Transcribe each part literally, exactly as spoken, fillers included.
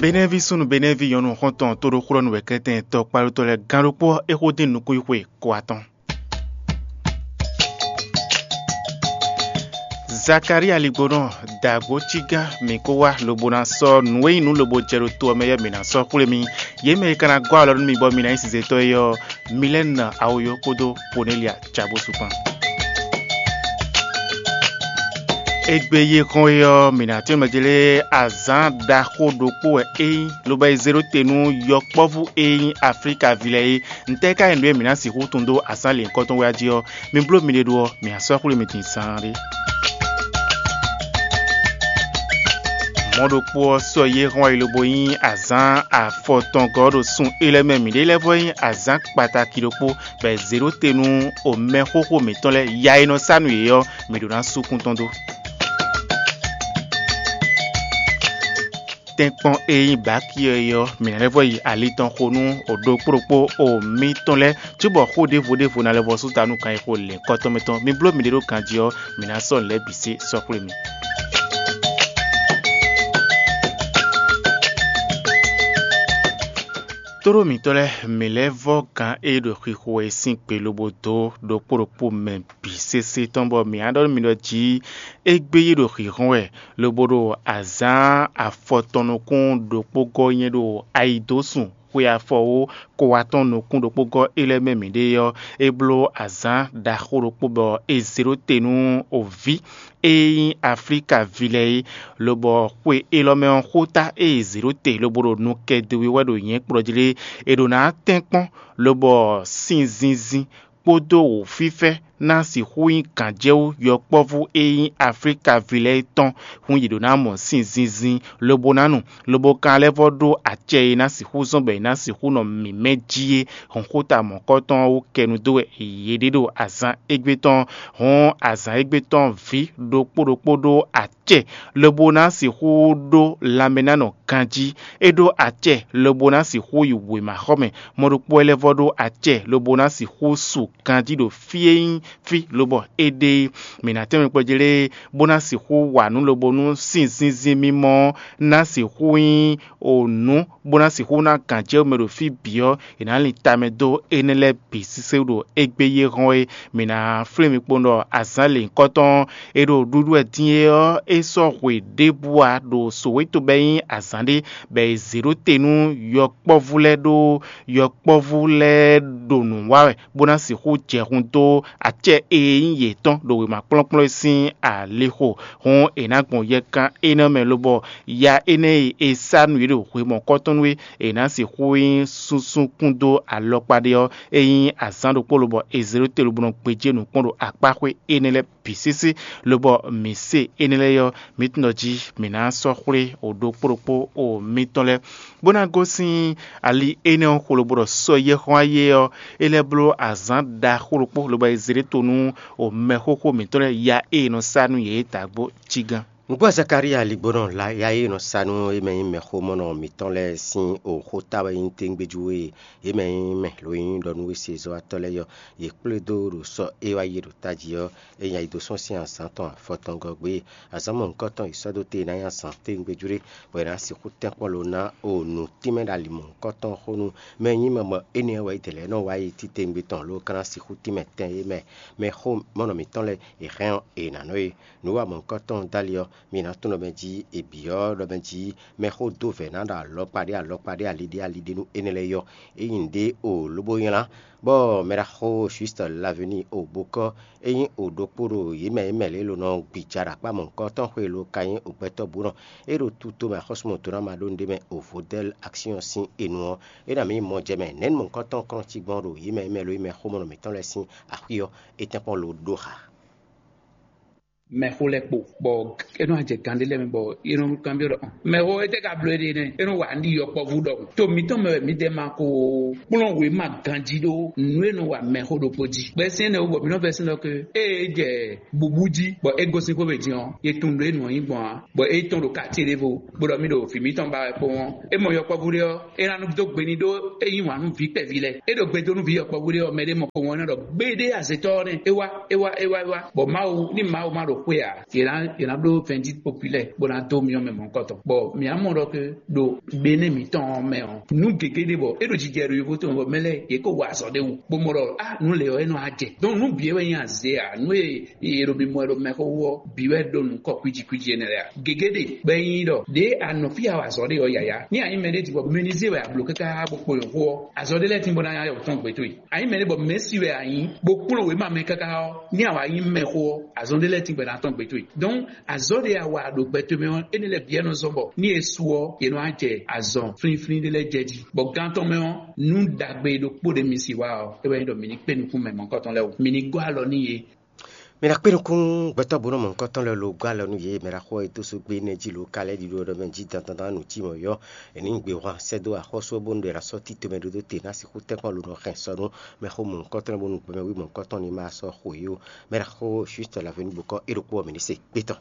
Benɛ́ví súnnu Benɛ́ví nyɔ̌nu xɔ́ntɔn tóɖóxúɖɔ́nú wɛ kɛ́tɛn tɔkpalótɔ́ lɛ́ɛ gán ɖokpó ɔ́, é xó dín nukúnxwe ko atɔn. Zakalíi aligbonɔ dǎgbó cígán mǐ kó wá lobo ná sɔ́ nǔ e nyí nǔ lobo jɛ ɖo to ɔ́ mɛ ɔ́, mǐ ná sɔ́ xwlé mi. Yě mɛ e ka ná gɔ́ alɔ nú mi bɔ mi ná nyí sizetɔ́ é ɔ́, Milɛ́nu Awoyo kpódó Konelya Cabósu kpán. Égbé yi hɔn é ɔ́, mǐ ná tɛ́nmɛ jlé azǎn ɖaxó ɖokpó wɛ é nyí, lobo yi zé ɖó te nú yɔkpɔ́vú e nyí Aflíka ví lɛ́ɛ é. Ntɛ́ ka nyí nǔ e mǐ ná sixú tunwun dó azǎn lěhunkɔtɔn wɛ jí ɔ́, mi bló miɖée ɖó ɔ́, mǐ ná sɔ́ xwlé mi din zaanɖé. Mɔ̌ ɖokpó ɔ́, sɔ́ yi e hɔn wá yi lobo nyí azǎn afɔtɔngɔ́ ɖo sun é lɛ́ɛ mɛ mǐɖée lɛ́ɛ vɔ nyí azǎn kpataki ɖokpó, bɔ è zě ɖó te nú omɛxóxó mǐtɔn lɛ́ɛ ya e nɔ sá nú yě ɔ́, mǐ ɖó ná sú kún tɔn dó. Tɛ́nkpɔ́n e nyí bǎki ɔ́ é ɔ́, mǐ ná lɛ́ vɔ yi ali tɔn xo nú o ɖokpó ɖokpó o mǐtɔn lɛ́ɛ, cóbɔ xó ɖěvo ɖěvo ná lɛ́ vɔ sú ta nú kan e xo lěhunkɔtɔn mɛ tɔn. Mi bló miɖée ɖó ganjí ɔ́, mǐ ná sɔ́ nǔ lɛ́ɛ bǐ sé sɔ́ xwlé mi. Tóɖó mǐtɔn lɛ́ɛ, mǐ lɛ́ vɔ́ gǎn e ɖo xixo wɛ é sín gbe lobo dó ɖokpó ɖokpó mɛ bǐ sésé tɔn, bɔ mǐ á ɖɔ nú mi ɖɔ jí égbé yí ɖo xǐxɔ́n wɛ, lobo ɖo azǎn afɔtɔn nukún ɖokpó gɔ́ nyɛ ɖo ayidósun xwe afɔwó kowatɔn nukún ɖokpó gɔ́ é lɛ́ɛ mɛ mǐɖée ɔ́, é bló azǎn ɖaxó ɖokpó bɔ è zě ɖó te nú oví e nyí Aflíka ví lɛ́ɛ é, lobɔ xwe élɔ́ mɛ ɔ́, xóta e è zě ɖó te lobo ɖo nu kɛ do wí wɛ ɖo nyɛ̌ kplɔ́ jí lé, è ɖǒ ná tɛ́nkpɔ́n, lobɔ sin zinzin kpódó wǔfífɛ́ ná sixú nyí gǎnjɛwú yɔkpɔ́vú e nyí Aflíka ví lɛ́ɛ tɔn, hun yě ɖó ná mɔ sin zinzin, lobo ná nu, lobo ka lɛ́ vɔ ɖó acɛ e ná sixú zɔ́n bɔ è nǎ sixú nɔ mǐmɛ́ jí é. Hɔnxota mɔ̌kɔtɔn ɔ́ wú kɛnu dó wɛ yě ɖe ɖo azǎn égbé tɔn. Hɔn azǎn égbé tɔn vǐ ɖokpó ɖokpó ɖó acɛ lobo ná sixú ɖó lanmɛ ná nɔ ganjí. É ɖó acɛ lobo ná sixú yi wěmaxɔmɛ. Mɔ ɖokpó wɛ lɛ́ vɔ ɖó acɛ lobo ná sixú su ganjí ɖo fí e nyí fí lobɔ é ɖe é. Mǐ ná tɛ́nmɛ kplɔ́ jí lé, bó ná sixú wa nǔ lobo nú sin zinzin mímɔ ɔ́ ná sixú nyí o nǔ, bó ná sixú ná gǎnjɛwú mɛ ɖo fí bǐ ɔ́, è nǎ lin tamɛ dó énɛ́ lɛ́ɛ bǐ sísé ɖo égbé yi hɔn é. Mǐ ná flín mi kpowun ɖɔ azǎn lěhunkɔtɔn e ɖo ɖuɖu wɛ din é ɔ́, é sɔ́ hwe ɖěbǔ ǎ ɖo sǒwe tobɛ́ nyí azǎn ɖé, bɔ è zě ɖó te nú yɔkpɔ́vú lɛ́ɛ ɖó yɔkpɔ́vú lɛ́ɛ ɖo nǔ wa wɛ, bó ná sixú jɛ hun dó acɛ e nyí yětɔn ɖo wěma kplɔ́nkplɔ́n e sín alixo. Hɔn è nǎ gbɔn yɛkan énɛ́ mɛ lobɔ ya énɛ́ e è sá nú yě ɖo hwe mɔ̌kɔtɔn nú é, è nǎ sixú nyí súnsún kún dó alɔkpa ɖé ɔ́, é nyí azǎn ɖokpó lobɔ è zě ɖó te lobo nɔ gbéjé nǔ kpɔ́n ɖo akpáxwé énɛ́ lɛ́ɛ bǐ sísí, lobɔ mǐ se énɛ́ lɛ́ɛ ɔ́, mǐ tunwun ɖɔ jí mǐ ná sɔ́ xwlé o ɖokpó ɖokpó o mitɔn lɛ́ɛ, bó ná gosín ali énɛ́ ɔ́ xwlo bó ɖɔ sɔ́ yɛ́ xɔ́n ayé ɔ́, é lɛ́ bló azǎn ɖaxó ɖokpó, lobo yi zé ɖé to nú o mɛxóxó mǐtɔn lɛ́ɛ ya e è nɔ sa nú yě é dǎgbó cí gán. Nǔgbó Zakalíi aligbónɔ la ya e nɔ sa nú é mɛ nyí mɛxómɔnɔ mǐtɔn lɛ́ɛ sín oxóta wɛ nyí téŋgbéjú e yě mɛ nyí mɛ lǒ nyí ɖɔ nú wěsezɔ́watɔ́ lɛ́ɛ ɔ́, yě kplé dó ɖo sɔ́ e wá yi ɖo tají ɔ́, é nya yi dó sɔ́ sín azǎn tɔn afɔtɔngɔ́ gbé. Azǎn mɔ̌hunkɔtɔn yi sɔ́ dó te ná nyi azǎn téŋgbéjú ɖé, bɔ è nǎ sixú tɛ́nkpɔ́n ló ná o nǔ tínmɛ ɖo ali mɔ̌hunkɔtɔn xó nú mɛ e nyí mɛ bɔ énɛ́ wɛ é dě lɛ́ɛ nɔ wá yi títewungbe tɔn ló ka ná sixú tínmɛ tɛn e mɛ mɛxó mɔnɔ mǐtɔn lɛ́ɛ è hɛn ɔ́, è nǎ nɔ é. Nǔ wa mɔ̌hunkɔtɔn dó ali ɔ́, mi ná tunwun ɖɔ mɛ jí è bǐ ɔ́ ɖɔ mɛ jí mɛxó dó vɛ̌ ná ɖo alɔkpa ɖé alɔkpa ɖé ali ɖé ali ɖé nú énɛ́ lɛ́ɛ yɔ. É nyí nǔɖé o lobo nylá, bɔ mɛɖaxó Juste Laveni o bokɔ́ é nyí o ɖokpó ɖo yě mɛ yě mɛ lě e lǒ nɔ gbija ɖo akpá mɔ̌hunkɔtɔn xwe lo ka nyí o gbɛtɔ́ bǔ nɔ. É ɖo tuto mɛ axɔ́súmɔtɔ́ ná ma ɖó nǔɖé mɛ o Vodɛ́l Aksiɔ́n sín enu ɔ́, é ná mǐ mɔ jɛ mɛ nɛ̌ mɔ̌hunkɔtɔn kɔn cí gbɔn ɖo yě mɛ yě mɛ lǒ yě mɛ xomɔnɔ mǐtɔn lɛ́ɛ sín axwí ɔ́, é tɛ́nkpɔ́n lo ɖó xa. Mɛxó lɛ́ɛ kpo, bɔ é nɔ jɛ gǎn ɖé lɛ́ɛ mɛ, bɔ é nɔ kanbyɔ́ ɖɔ: "Mɛxó, étɛ́ ka bló éɖée nɛ́? É nɔ wa nǔ ɖi yɔkpɔ́vú ɖɔhun. To mǐtɔn mɛ wɛ mǐdɛɛ ma ko kplɔ́n wěma ganjí ɖó nǔ e nɔ wa mɛxó ɖokpó jí." Bɔ é syɛ́n nɛ́ wú bɔ mǐ nɔ vɛ́ sín ɖɔ ké ée é jɛ bǔbú jí, bɔ é gosín xwé mɛ din ɔ́, yě tunwun nǔ e nǔ ɔ́ nyí gbɔn ǎ, bɔ é tɔ́n ɖo katí ɖěvo, bó ɖɔ mì ɖo vǐ mǐtɔn ba wɛ kpowun ɔ́, é mɔ yɔkpɔ́vú ɖé ɔ́, é ná nɔ dó gbe n'i ɖó é yí wǎn nú vǐ kpɛví lɛ́ɛ. É ɖo gbe dó nú vǐ yɔkpɔ́vú ɖé ɔ́, mɛ ɖé mɔ kpowun ɔ́, é nɔ ɖɔ: "Gbéɖé azětɔ́ ɔ́ nɛ́, é wá, é wá, é wá, é wá." Bɔ Mawu, ní Mawu ma ɖo xwé ǎ, yě ná yě ná bló vɛndit populɛ bó ná dó myɔ mɛ mɔ̌hunkɔtɔn. Bɔ mǐ á mɔ ɖɔ ke ɖo gbe énɛ́ mǐtɔn ɔ́ mɛ ɔ́, nǔ gěgé ɖé bɔ é ɖo jijɛ ɖo yovo tɔn bɔ mɛ lɛ́ɛ yě ko wa azɔ̌ ɖé wú, bó mɔ ɖɔ á nǔ lě ɔ́ é nɔ wá jɛ. Donc nǔ bǐ é wɛ nyí azě ǎ, nǔ e è ɖo mimɔ wɛ ɖo mɛxó wú ɔ́ bǐ wɛ ɖo nǔ kɔ kwíji kwíji énɛ́ lɛ́ɛ ǎ. Gěgé ɖe bɔ é nyí ɖɔ ɖě a nɔ fí a wa azɔ̌ ɖe ɔ́ yǎyá. Ní a nyí mɛɖé din bɔ menuisier wɛ a blǒ káká bó kpo nyɔ̌xó ɔ́, azɔ̌ ɖé lɛ́ɛ tíngbɔ́ ná nyá yɔ̌tɔn gbě towe. A nyí mɛɖé bɔ mɛ̌si wɛ a nyí, bó kplɔ́n wěma mɛ káká ɔ́, ní a wǎ nyí mɛxó ɔ́, azɔn ɖé lɛ́ɛ tíngbɛ ná tɔn gbe towe. Donc azɔn ɖé a wa ɖo gbɛ towe mɛ ɔ́, énɛ́ lɛ́ɛ bǐ wɛ nɔ zɔ́n bɔ ní è su ɔ́, è nɔ wá jɛ azɔn flínflín ɖé lɛ́ɛ jɛ jí. Bɔ gan tɔn mɛ ɔ́, nú ɖagbe ɖokpó ɖé mi si wa ɔ́, é wɛ nyí ɖɔ mǐ ní kpé nukún mɛ mɔ̌hunkɔtɔn lɛ́ɛ wú. Mǐ ní gɔ́ alɔ n'i yě. Mɛ ná kpé nukún gbɛtɔ́ bónú mɔ̌hunkɔtɔn lɛ́ɛ lo gɔ́ alɔ nú yě, mɛ ná xɔ e dó só gbé nɛ́ jí lo ka lɛ́ ɖiɖo ɖɔ mɛ jí dandan nǔ cí mɔ̌ yɔ́. È nǐ gbe hwan sɛ́ dó axɔ́sú ɔ́ bónú ɖɔ è nǎ sɔ́ títɔ́ mɛ ɖó dó te ná sixú tɛ́nkpɔ́n lo nɔ hɛn sɔ nú mɛxó mɔ̌hunkɔtɔn lɛ́ɛ bónú gbɛmɛ wí mɔ̌hunkɔtɔn ní ma sɔ́ xo yě ó. Mɛ ná xɔ Jwift Lavenue bokɔ é ɖokpó ɔ́ mǐ ní se gbé tɔn.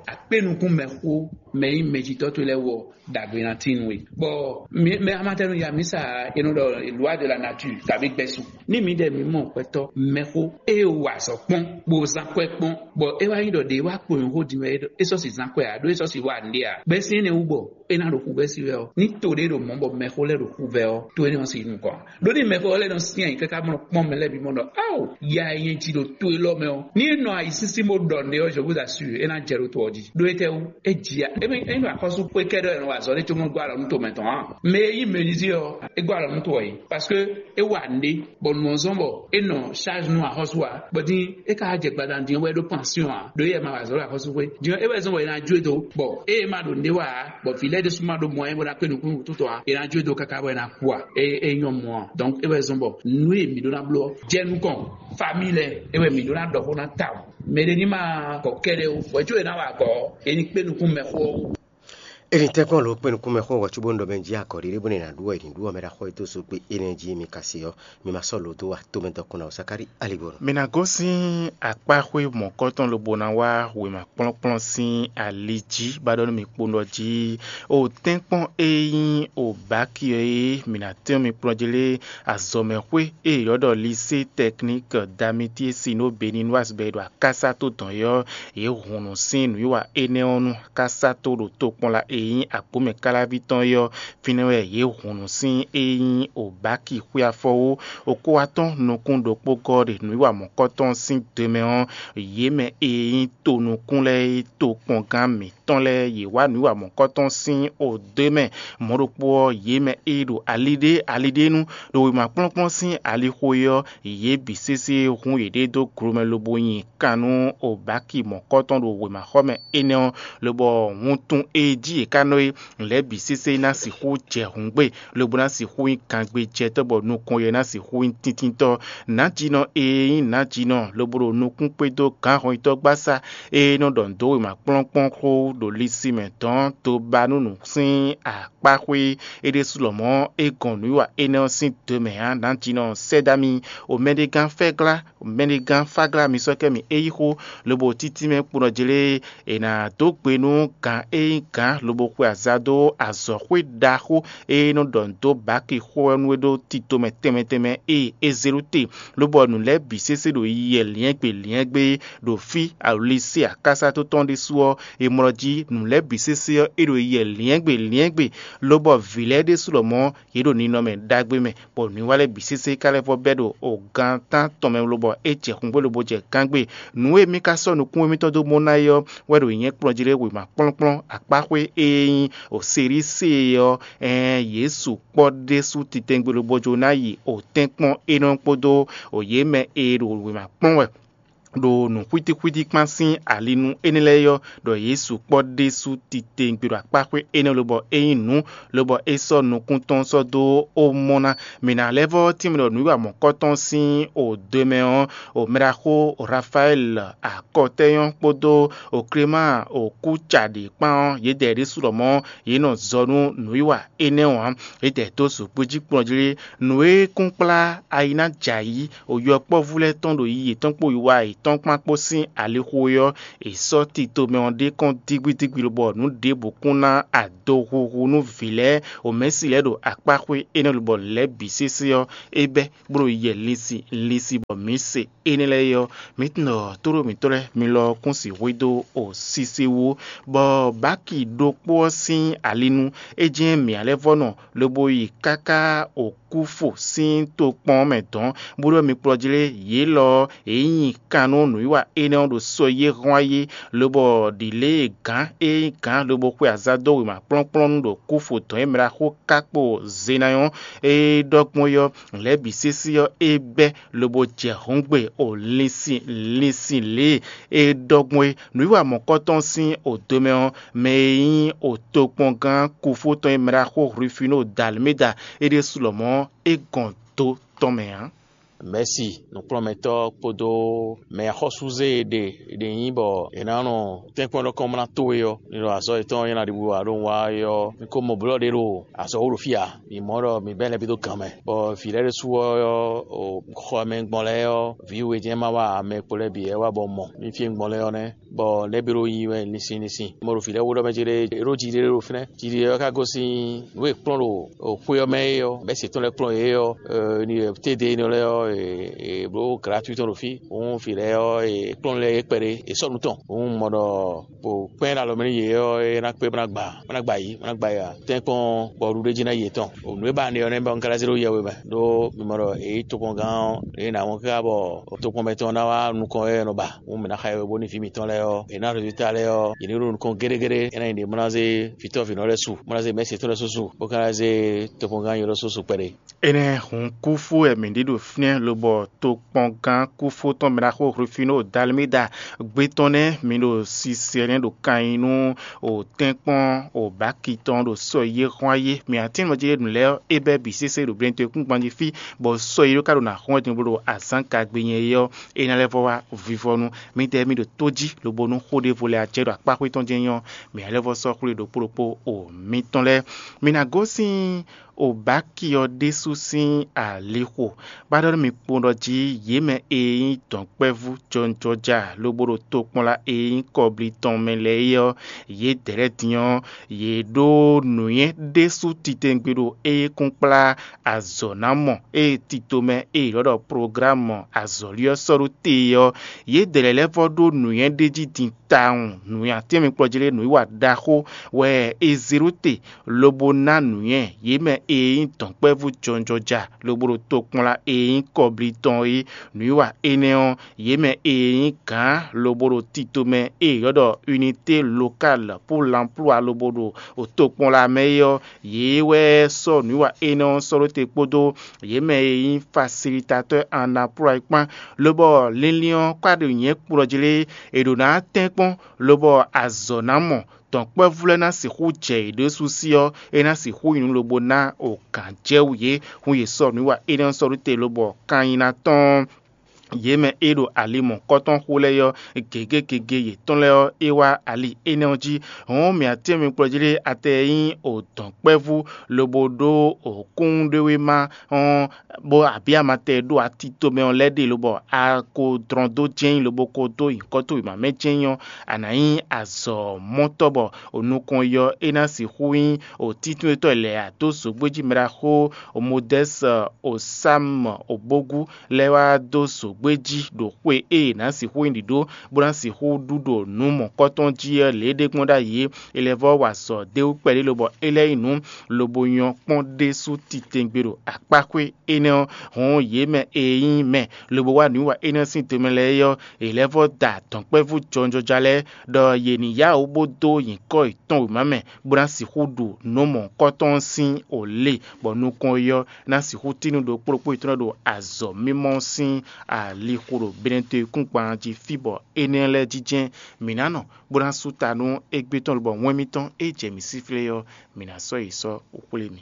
Akpé nukún mɛxó mɛ nyí mɛjitɔ́ towe lɛ́ɛ wú ɔ́, ɖagbe ná tín nú we. Bɔ mɛ amatɛnu ya mǐ sa è nɔ ɖɔ loi de la nature kabí gbɛ́sú. Ní mǐdɛɛ mǐ mɔ gbɛtɔ́ mɛxó e wa azɔ̌ kpɔ́n, bó zán kwɛ́ kpɔ́n, bɔ é wá nyí ɖɔ ɖě wá kpo nyɔ̌xó din wɛ é sɔ́ si zán kwɛ́ ǎ, ɖó é sɔ́ si wá nǔɖé ǎ. Gbɛ́sín énɛ́ wú bɔ é ná ɖo xuvɛ́ sí wɛ ɔ́, ní to ɖé ɖo mɔ̌ bɔ mɛxó lɛ́ɛ ɖo xuvɛ́ ɔ́, to énɛ́ ɔ́ sin nukɔn ǎ. Ɖó ní mɛxó lɛ́ɛ nɔ syɛ́n ayǐ káká bó nɔ kpɔ́n mɛ lɛ́ɛ bǐ mɔ ɖɔ áo, ya e nyɛ ji ɖo to élɔ́ mɛ ɔ́, ní é nɔ ayǐsínsín bó ɖɔ nǔɖé ɔ́, je vous assure, é ná jɛ ɖó to ɔ́ jí. Ɖó étɛ́wú? É ji ya, é mɛ é nɔ axɔ́sú xwé kɛ́ɖɛ́ wɛ nɔ wa azɔ̌ ɖé cóbó gɔ́ alɔ nú tomɛ tɔn ǎ. Mɛ e nyí mɛnizí ɔ́, é gɔ́ alɔ nú to ɔ́ é, parce que é wa nǔɖé bɔ nǔ ɔ́ zɔ́n bɔ é nɔ charge nú axɔ́sú ǎ, bɔ din é ka jɛ gbadanu din ɔ́ wɛ ɖó pansyɔn ǎ, ɖó éyɛ́ ma wa azɔ̌ ɖo axɔ́sú xwé. Din ɔ́, é wɛ zɔ́n bɔ è nǎ jó e dó, bɔ ée é ma ɖo nǔɖé wa ǎ, bɔ vǐ lɛ́ɛ ɖésú ma ɖó mɔ ɛ bó ná kpé nukúnnú wútu tɔn ǎ, è nǎ jó e dó káká bɔ è nǎ ku ǎ. É é nyɔ́ mɔ ǎ. Donc é wɛ zɔ́n bɔ nǔ e mǐ ɖó ná bló ɔ́, jɛ nukɔn, famille lɛ́ɛ é wɛ mǐ ɖó ná ɖɔ xó ná tawun. Mɛɖé ní ma kɔ kɛ́ɖɛ́ ó, bɔ é có è nǎ wa agɔ̌ ɔ́, è ní kpé nukún mɛxó ɔ́ wú. Eni tɛ́nkpɔ́n lǒ kpé nukúnmɛ xó wɛ cóbónú ɖɔ mɛ jí akɔ ɖiɖé bó nɛ́ ná ɖu wɛ è nǐ ɖu ɔ́, mɛ ɖaxó e dó so kpé énɛ́ jí mi ka se ɔ́, mi ma sɔ́ lǒ dó wa tomɛ dɔkun ná o Sakári alibɔnu. Mi ná gosín akpáxwé mɔ̌kɔtɔn lobo ná wá wěma kplɔ́nkplɔ́n sín ali jí, bá ɖɔ nú mi kpowun ɖɔ jí, o tɛ́nkpɔ́n e nyí o bǎki ɔ́ é mi ná tɛ́n mi kplɔ́n jí lé azɔ̌mɛxwé e è ylɔ́ ɖɔ Lisée Tɛkník Damitiési nú Beninoise bɔ è ɖo akásá tó dɔn é ɔ́, yě hun nǔ sín nǔwiwa énɛ́ ɔ́ nú akásá tó ɖo tokpɔnla e nyí agbǒmɛ káláví tɔn é ɔ́, fínɛ́ wɛ yě hun nǔ sín e nyí o bǎki xwé afɔwú. O kó wá tɔ́n nukún ɖokpó gɔ́ ɖe nǔwiwa mɔ̌kɔtɔn sín do mɛ ɔ́, yě mɛ e nyí tonukún lɛ́ɛ é tokpɔngán mǐtɔn lɛ́ɛ yě wá nǔwiwa mɔ̌kɔtɔn sín o do mɛ. Mɔ̌ ɖokpó ɔ́, yě mɛ e ɖo ali ɖé ali ɖé nu ɖo wěma kplɔ́nkplɔ́n sín alixo é ɔ́, yě bǐ sésé hun yěɖée dó glomɛ lobo nyi kan nú o bǎki mɔ̌kɔtɔn ɖo wěmaxɔmɛ énɛ́ ɔ́, lobɔ wuntun e jí yě ka nɔ é, lɛ̌ bǐ sésé ná sixú jɛ hǔngbe, lobo ná sixú nyí gangbejɛtɔ́, bɔ nukɔn yɛ ná sixú nyí tíntínntɔ́. Nǎjínɔ e nyí nǎjínɔ lobo ɖo nukún kpédó gǎnhɔnyitɔ́ gbásá e nɔ ɖɔ nǔ dó wěma kplɔ́nkplɔ́n xó ɖo lisin mɛ dɔn dó ba nú nǔ sín akpáxwé é ɖésú lɔmɔ̌ é gɔn nǔwiwa énɛ́ ɔ́ sín do mɛ ǎ. Nǎjínɔ sɛ́ dó ami, o mɛɖégán fɛ́glá, mɛɖégán fáglá mi sɔ́ kɛ mi é yí xó, lobo títínmɛ kpónɔ jlé è nǎ dó gbe nú gǎn e nyí gǎn lobo xwe aza dó azɔ̌xwé ɖaxó e nɔ ɖɔ nǔ dó bǎki xó ɔ́ nú é ɖó tito mɛ tɛnmɛ tɛnmɛ e é zé ɖó te, lobɔ nǔ lɛ́ɛ bǐ sésé ɖo yiyɛ lyɛ̌ngbe lyɛ̌ngbe ɖo fí alolísí akásá tó tɔn ɖésú ɔ́, è mlɔ jí nǔ lɛ́ɛ bǐ sésé ɔ́ é ɖo yiyɛ lyɛ̌ngbe lyɛ̌ngbe, lobɔ vǐ lɛ́ɛ ɖésú lɔmɔ̌ yě ɖo ninɔmɛ ɖagbe mɛ, bɔ nǔwiwa lɛ́ɛ bǐ sésé ka lɛ́ vɔ bɛ́ ɖo o gan tán tɔn mɛ lobɔ é jɛ xungbé lobo jɛ gángbe. Nǔ e mì ka sɔ́ nukún émítɔn dó mɔ ná é ɔ́ wɛ ɖo nyɛ̌ kplɔ́n jí lé wěma kplɔ́nkplɔ́n akpáxwé e nyí o Selíse ɔ́, ɛɛn Jezu kpɔ́ ɖésú titɛngbé lobo jó ná yi o tɛ́nkpɔ́n énɛ́ kpódó o yě mɛ e ɖo wěma kplɔ́n wɛ ɖo nǔxwítíxwítí kpán sín ali nú énɛ́ lɛ́ɛ é ɔ́, ɖɔ Jezu kpɔ́ ɖésú titewungbe ɖo akpáxwé énɛ́ lobɔ é nyí nǔ, lobɔ é sɔ́ nukún tɔn sɔ́ dó ó mɔ ná. Mǐ ná lɛ́ vɔ́ tínmɛ ɖɔ nǔwiwa mɔ̌kɔtɔn sín o do mɛ ɔ́, o mɛɖaxó Rafayɛ́li akɔtɛ́nyɔ́ kpódó o Klemáa o kúcaɖě kpán ɔ́, yědɛɛ ɖésú lɔmɔ̌ yě nɔ zɔ nú nǔwiwa énɛ́ ɔ́ ǎ. Yědɛɛ dó zǒgbéjí kplɔ́n jí lé. Nǔ e kún kplá ayi ná jɛ ayǐ, o yɔkpɔ́vú lɛ́ɛ tɔn ɖo yi yětɔn kpó wiwa e atɔ́ɔ́nkpán kpó sín alixo é ɔ́, è sɔ́ tito mɛ ɔ́ ɖe kɔn dígbídígbí lobɔ nǔ ɖěbǔ kún ná adohuhu nú vǐ lɛ́ɛ omɛ̌si lɛ́ɛ ɖo akpáxwé énɛ́ lobɔ nǔ lɛ́ɛ bǐ sésé ɔ́, é bɛ́ bó ɖo yɛ linsin linsin bɔ mǐ se énɛ́ lɛ́ɛ é ɔ́, mǐ tunwun ɖɔ tóɖó mǐtɔn lɛ́ɛ mi lɔ ɔ́ kún sixú dó o sise wú, bɔ báki ɖokpó ɔ́ sín ali nu é jɛ́n mǐ lɛ́ vɔ́ nɔ lobo yi káká okúfo sín tokpɔn ɔ́ mɛ dɔ̌n, bó ɖɔ mi kplɔ́ jlé yě lɔ ɔ́, yě nyi kan nú nǔwiwa énɛ́ ɔ́ ɖo sɔ́ yí é hɔ́n ayé, lobɔ ɖǐlée gǎn e nyí gǎn lobo xwe azǎn dó wěma kplɔ́nkplɔ́n nu ɖo kúfo dɔ̌n e mɛ ɖaxó ká kpo Zenayɔ́n e ɖɔ gbɔn é ɔ́, lɛ̌ bǐ sésé ɔ́, é bɛ́ lobo jɛ hɔ̌ngbe o linsin linsin lě e é ɖɔ gbɔn é. Nǔwiwa mɔ̌kɔtɔn sín odomɛ ɔ́, mɛ e nyí otokpɔngán kúfó tɔn e mɛ ɖaxó Hlwifino Dalméda é ɖésú lɔmɔ̌ é gɔn do tɔn mɛ ǎ. Mɛ̌si nǔkplɔ́nmɛtɔ́ kpódó mɛ axɔ́súzé e ɖe è ɖe nyí bɔ è nǎ nɔ tɛ́nkpɔ́n ɖɔkɔ́mlá towe ɔ́, ní ɖo azɔ̌ yětɔn e ná ɖi bó wá ɖó wá é ɔ́, mi ko mɔ blɔ̌ ɖé ɖo azɔ̌ wú ɖo fí ǎ. Mi mɔ ɖɔ mi bɛ́ lɛ́ bǐ dó gan mɛ, bɔ vǐ lɛ́ɛ ɖésú ɔ́, xɔ e mɛ gbɔn lɛ́ɛ ɔ́, vǐ we jɛ́n ma wá ame kpo lɛ́ɛ bǐ wɛ wá bɔ mɔ. Mi fí e gbɔn lɛ́ɛ ɔ́ nɛ́, bɔ lɛ́ bǐ ɖo nyi wɛ linsin linsin. Mo ɖo vǐ lɛ́ɛ wú ɖɔ mɛ jí ɖé, é ɖó jiɖiɖe ɖo fínɛ́. Jiɖiɖe ɔ́ ka gosín nǔ e kplɔ́n ɖo xwé ɔ́ mɛ é ɔ́, bɛ́ se tɔn lɛ́ɛ kplɔ́n yě ɔ́, ní tédé énɛ́ lɛ́ɛ ɔ́, è bló gratuit tɔn ɖo fí. Òun vǐ lɛ́ɛ ɔ́, è kplɔ́n lɛ́ɛ é kpɛɖé, è sɔ́ nǔ tɔn. Òun mɔ ɖɔ kpɛ́n ɖo alɔ mɛ nú yě ɔ́, é ná kpé bó ná gba, bó ná gba yǐ, bó ná gba yǐ ǎ. Tɛ́nkpɔ́n bɔ ɖuɖéjí ná yi yětɔn. Nǔ e ba nɛ ɔ́ nɛ́ bɔ un ka ná zé ɖó yɛhwe mɛ, ɖó mi mɔ ɖɔ è yí tokpɔngán ɔ́, è nǎ wɔn káká bɔ tokpɔn mɛtɔn ná wá nukɔn wɛ è nɔ ba. Hǔn mǐ ná xa yɔhweɖónúví mitɔn lɛ́ɛ ɔ́, è nǎ ɖo ta lɛ́ɛ ɔ́, yě ní ɖo nukɔn géɖégéɖé, é ná nyí ɖě bó ná zé vǐtɔ́ vǐnɔ lɛ́ɛ su, bó ná zé mɛ̌si yětɔn lɛ́ɛ su su, bó ka ná zé tokpɔngán yětɔn lɛ́ɛ su kpɛɖé. Énɛ́ hǔn kúfú wɛ mǐ ɖi ɖo fínɛ́, lobɔ tokpɔngán kúfú tɔn mɛ ɖaxó Hlufínó Dalmída gbé tɔn nɛ́, mi ɖo sisɛ nɛ́ ɖo kan nyi nú o tɛ́nkpɔ́n o bǎki tɔn ɖo sɔ yé hɔ́n ayé. Mǐ atínmɔ jí ɖe nǔ lɛ́ɛ ɔ́, é bɛ́ bǐ sésé ɖo blɛ́nto e kún gban jí fí, bɔ sɔ yé ɖó ka ɖo nǎ xɔ́n din bó ɖo azǎn ka gbe nyɛ é ɔ́, é ná lɛ́ vɔ wá vivɔnu. Midɛɛ mi ɖo tó jí, lobo nú xó ɖěvo lɛ́ɛ a jɛ ɖo akpá xwé tɔn jɛ́n nyí ɔ́, mǐ ná lɛ́ vɔ sɔ́ xwlé ɖokpó ɖokpó o mitɔn lɛ́ɛ. Mi ná gosín Obaki ɔ́ ɖésú sín alixo, bó ná ɖɔ nú mi kpowun ɖɔ jí yě mɛ e nyí dɔ̌nkpɛvú jɔnjɔja lobo ɖo tokpɔnla e nyí kɔbli tɔn mɛ lɛ́ɛ é ɔ́, yědɛɛ lɛ́ɛ din ɔ́, yě ɖó nǔnywɛ́ ɖésú titewungbe ɖo éyɛ́kúnkplá azɔ̌ ná mɔ e tito mɛ e è ylɔ́ ɖɔ programu azɔ̌li ɔ́ sɔ́ ɖó te é ɔ́, yědɛɛ lɛ́ɛ vɔ ɖó nǔnywɛ́ ɖé jí din tawun. Nǔnywɛ́ atɛ́nmɛ kplɔ́ jí lé nǔwiwa ɖaxó wɛ è zě ɖó te, lobo ná nǔnywɛ́ yě mɛ e nyí dɔ̌nkpɛvú jɔnjɔja lobo ɖo tokpɔnla e nyí kɔbli tɔn é. Nǔwiwa énɛ́ ɔ́, yě mɛ e nyí gǎn lobo ɖo tito mɛ e è ylɔ́ ɖɔ unité locale pour l'emploi lobo ɖo tokpɔnla mɛ é ɔ́, yě wɛ sɔ́ nǔwiwa énɛ́ ɔ́ sɔ́ ɖó te kpódó yě mɛ e nyí facilitateur en emploi kpán, lobɔ linlin ɔ́ kpá ɖo nyɛ̌ kplɔ́ jí lé, è ɖǒ ná tɛ́nkpɔ́n, lobɔ azɔ̌ ná mɔ, dɔ̌nkpɛvú lɛ́ɛ ná sixú jɛ yě ɖésú sí ɔ́, é ná sixú nyí nǔ lobo ná o gǎn jɛ wú yě, hún yě sɔ́ nǔwiwa énɛ́ ɔ́ sɔ́ ɖó te lobɔ kan nyi ná tɔ́n yě mɛ e ɖo ali mɔ̌kɔ́tɔn xo lɛ́ɛ ɔ́, gěgé gěgé yětɔn lɛ́ɛ ɔ́, é wá ali énɛ́ ɔ́ jí. Hɔ̌n mǐ atɛ́nmɛ kplɔ́ jí lé atɛ e nyí o dɔ̌nkpɛvú lobo ɖó o kúnɖéwéma ɔ́, bó abǐ amatɛ e ɖo ati tomɛ ɔ́ lɛ́ɛ ɖe lobɔ a ko dlɔn dó jɛ́n lobo ko dó nyǐkɔ towe mɛ jɛ́n ɔ́, a nǎ nyí azɔ̌ mɔtɔ́ bɔ o nukɔn yɔ é ná sixú nyí o títúnwetɔ́ lɛ̌ a dó zǒgbéjí mɛ ɖaxó o Modɛ́si o Sámu o Bógú lɛ́ɛ wá dó zǒgbéjí ɖo xwe e è nǎ sixú nyí ɖǐɖó bó ná sixú ɖu ɖo nǔ mɔ̌kɔtɔn jí ɔ́ lě e ɖe gbɔn ɖ'ayǐ é. È lɛ́ vɔ́ wa azɔ̌ d'é wú kpɛɖé lobɔ é lɛ́ nyí nǔ lobo nyɔ́ kpɔ́n ɖésú titewungbe ɖo akpáxwé énɛ́ ɔ́, hɔn yě mɛ e nyí mɛ lobo wá nǔwiwa énɛ́ sín do mɛ lɛ́ɛ é ɔ́, è lɛ́ vɔ́ da dɔ̌nkpɛvú jɔnjɔja lɛ́ɛ ɖɔ yě ní yá wǔ bó dó nyǐkɔ yětɔn wěma mɛ, bó ná sixú ɖu nǔ mɔ̌hunkɔtɔn ɔ́ sín o lě, bɔ nukɔn ɔ́ ná sixú tín nú ɖokpó ɖokpó yětɔn ɖo azɔ̌ mímɔ ɔ́ sín alixo ɖo Benɛto e kún gban jí fí bɔ énɛ́ lɛ́ɛ jínjɛ́n mǐ ná nɔ, bó ná sú ta nú égbé tɔn lobɔ wɛn mitɔn e jɛ mǐ síflé ɔ́, mǐ ná sɔ́ yi sɔ́ xwlé mi.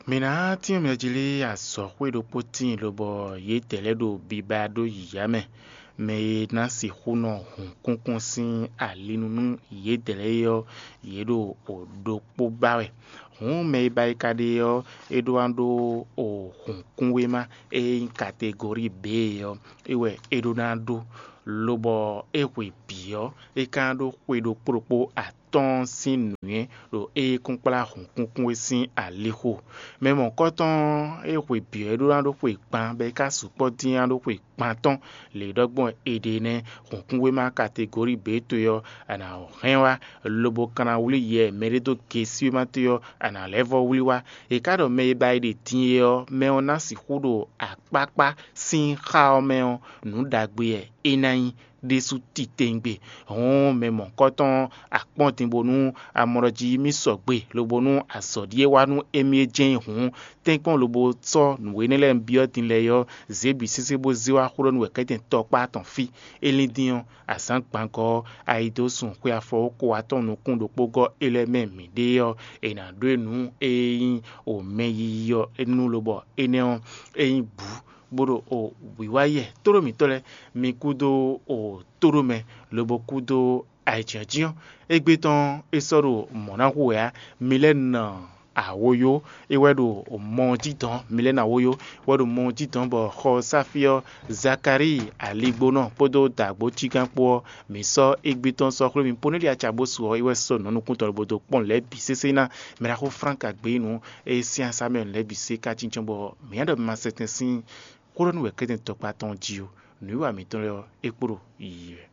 Mǐ ná tín mɛ jí lé azɔ̌xwé ɖokpó tíin lobɔ yědɛɛ lɛ́ɛ ɖo biba ɖó yǐyá mɛ. Mɛ e ná sixú nɔ hun kúnkún sín ali nu nú yědɛɛ lɛ́ɛ é ɔ́, yě ɖo ɖokpó ba wɛ. Hǔn mɛ e ba yi ka ɖe ɔ́, é ɖó ná ɖó hǔnkúnwéma e nyí kategori B ɔ́, é wɛ é ɖó ná ɖó, lobɔ é hwe bǐ ɔ́, é ka ná ɖó xwe ɖokpó ɖokpó atɔ́ɔ́n sín nǔnywɛ́ ɖo é kúnkplá hǔnkúnkún é sín alixo. Mɛ mɔ̌kɔtɔn e hwe bǐ ɔ́ é ɖó ná ɖó xwe gban, bɔ é ka sukpɔ́ dín ná ɖó xwe gban tɔn. Lě ɖɔ gbɔn è ɖe nɛ́, hǔnkúnwéma kategori B towe ɔ́, a nǎ hɛn wá, lobo ka ná wlí yɛ mɛɖé dó gesíwéma towe ɔ́, a nǎ lɛ́ vɔ́ wlí wá. È ka ɖɔ mɛ e ba yi ɖe din é ɔ́, mɛ ɔ́ ná sixú ɖo akpákpá sín xá ɔ́ mɛ ɔ́, nǔ ɖagbe wɛ é ná nyí ɖésú titewungbe. Hǔn mɛ mɔ̌kɔtɔn akpɔ́n din bónú amɔ ɖɔ jí mì sɔgbe, lobo nú azɔ̌ ɖíe wá nú émí é jɛ́n nyí hǔn, tɛ́nkpɔ́n lobo sɔ́ nǔ énɛ́ lɛ́ɛ byɔ́ din lɛ́ɛ ɔ́, zě bǐ sésé bó zé wá xó ɖɔ nú wɛ̌kɛ́tɛn tɔkpá tɔn fí. É lín dín ɔ́, azǎn gbangɔ́ ɔ́, a yi dó sun xwe afɔwókó atɔn nukún ɖokpó gɔ́ é lɛ́ɛ mɛ mǐɖée ɔ́, è nǎ ɖó e nǔ e nyí o mɛ yiyi ɔ́ nú lobɔ énɛ́ ɔ́, é nyí bǔ bó ɖo o wǐwá yɛ tóɖó mǐtɔn lɛ́ɛ, mi kúdó o tóɖó mɛ, lobo kúdó ayǐjínjɔ́n. Égbé tɔn é sɔ́ ɖo mɔ̌ ná hu wɛ ǎ. Mi lɛ́ nɔ awoyó, é wɛ ɖo mɔ jí dɔn, mi lɛ́ nɔ awoyó wɛ ɖo mɔ jí dɔn, bɔ xɔ sáfí ɔ́, Zakalíi aligbónɔ kpódó dǎgbó cígán kpó ɔ́, mǐ sɔ́ égbé tɔn sɔ́ xwlé mi. Ponɛ́li aca bó su ɔ́, é wɛ sɔ́ nǔ nukún tɔn lobo dó kpɔ́n lɛ̌ bǐ sésé ná. Mɛ ɖaxó Flánk Agbeyínu e sín asá mɛ lɛ̌ bǐ sé ka jínjɔ́n bɔ mǐ nya ɖɔ mi ma sɛtɛn sín xó ɖɔ nú wɛ̌kɛ́tɛn tɔkpá tɔn jí ó. Nǔwiwa mǐtɔn lɛ́ɛ ɔ́, é kpo ɖo yiyi wɛ.